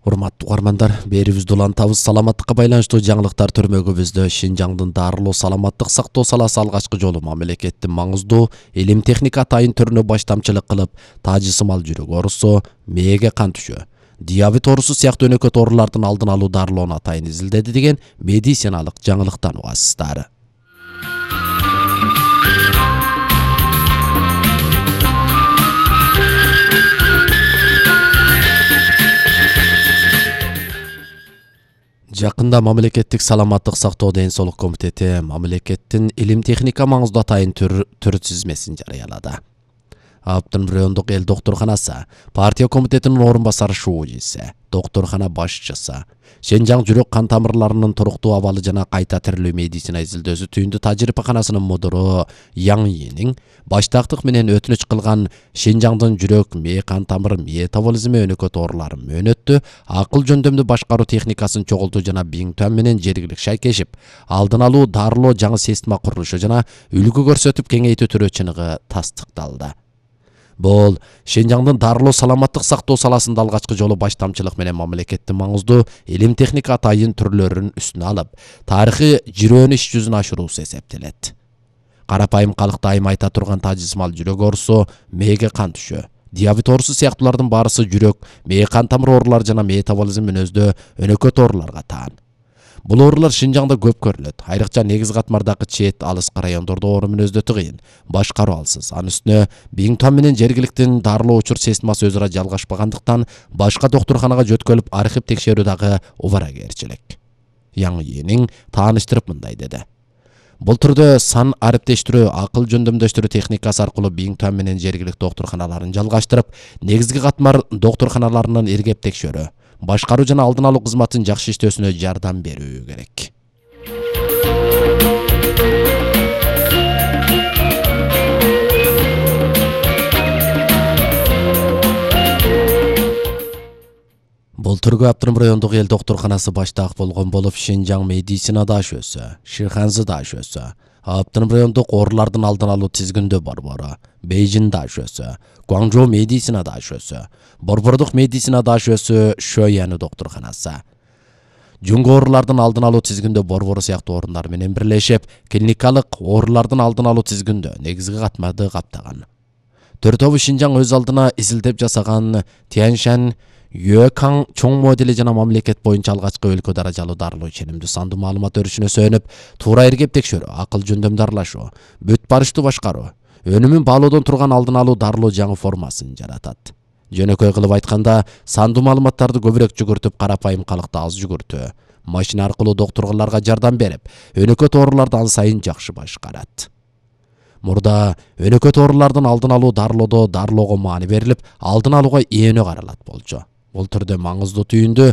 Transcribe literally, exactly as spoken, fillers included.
Урматтуу угармандар, берибизди улантабыз. Саламаттыкка байланыштуу жаңылыктар төрмөгүбүздө Шинжаңдын дарылоо саламаттык сактоо саласы алгачкы жолу мамлекеттин маңыздуу илим техника атайын түрүнө баштамчылык кылып, таажысымал жүрөк оорусу, мээге кан түшөө, диабет оорусу сыяктуу өнөкөт оорулардын алдын алуу дарылоону атайын изилдеди деген медициналык жаңылыктан угасыздар. Жакында мамлекеттик саламаттык сактоо ден соолук комитети мамлекеттин илим техника маңыздуу атайын түр түр тизмесин жарыялады. Аптын райондук эл доктурканасы, партия комитетинин орун басары шуудиси, доктуркана башчысы, Шинжаң жүрөк кан тамырларынын туруктуу абалы жана кайта тирилүү медицина изилдөөсү түйүндү тажрыйбаканасынын мудуру Яң Йинин баштактык менен өтүнүч кылган Шинжаңдын жүрөк, мээ кан тамыр метаболизми өнөкөт ооруларын мөөнөттү, акыл жөндөмдү башкаруу техникасын чогултуу жана биңтуан менен жергилик шайкешип, алдын алуу дарылоо жаңы система курулушу жана үлгү көрсөтүп кеңейтүү түрү чыныгы тастыкталды. Бул Шинжаңдын дарылоо саламаттык сактоо саласында алгачкы жолу баштамчылык менен мамлекеттин маңыздуу илим техника атайын түрлөрүн үстүнө алып, тарыхый жирөөнү иш жүзүнө ашыруусу эсептелет. Карапайым калыкта айым айта турган таажысымал жүрөк оорусу, мээге кан түшөө, диабет оорусу сыяктуулардын баарысы жүрөк, мээ кан тамыр оорулары жана метаболизм мүнөздүү өнөкөт ооруларга таан. Бул оорулар Шинжаңда көп көрүлөт. Айрыкча негиз катмардагы чет алыскы райондордо оору мүнөздөтү кыйын, башкаруу алсыз. Анын үстүнө биңтуан менен жергиликтин дарылоо учур системасы өзү ара жалгашпагандыктан башка доктурканага жөткөлүп архив текшерүү дагы убаракерчилик. Яң Йинин тааныштырып мындай деди. Бул түрдө сан ариптештирүү, акыл жөндөмдөштүрүү техникасы аркылуу биңтуан менен жергилик доктурканаларын жалгаштырып, негизги катмар доктурканаларынын иргеп текшерүү, башкаруу жана алдын алуу кызматын жакшы иштөөсүнө жардам берүү керек. Бул түргө Аптырым райондук эл доктурканасы баштаак болгон болуп, Шинжаң медицина дашөөсү, Шиханзы дашөөсү, Аптырым райондук оорулардын алдын алуу тизгиндөө борбору, Бейжин дашөөсү, Гуаңжоу медицина дашөөсү, Борбордук медицина дашөөсү, Шөйяны доктурканасы, Жуңго оорулардын алдын алуу тизгиндөө борбору сыяктуу орундар менен бирлешип, клиникалык оорулардын алдын алуу тизгиндөө негизги катмарды каптаган. Төртөбү Шинжаң өз алдына изилдеп жасаган Тяньшань Юэкаң чоң модели жана мамлекет боюнча алгачкы өлкө даражалуу дарылоо иченимдүү сандуу маалымат өрүшүнө сүйөнүп, туура иргеп текшерүү, акыл жөндөмдү аралашуу, бүт барыштуу башкаруу, өнүмүн баалоодон турган алдын алуу дарылоо жаңы формасын жаратат. Жөнөкөй кылып айтканда, сандуу маалыматтарды көбүрөөк жүгүртүп, карапайым калыкты аз жүгүртүү, машина аркылуу доктурларга жардам берип, өнөкөт ооруларды ан сайын жакшы башкарат. Мурда өнөкөт оорулардын алдын алуу дарылоодо дарылоого маани берилип, алдын алууга эөнө каралат болчу. Бул түрдө маңыздуу түйүндү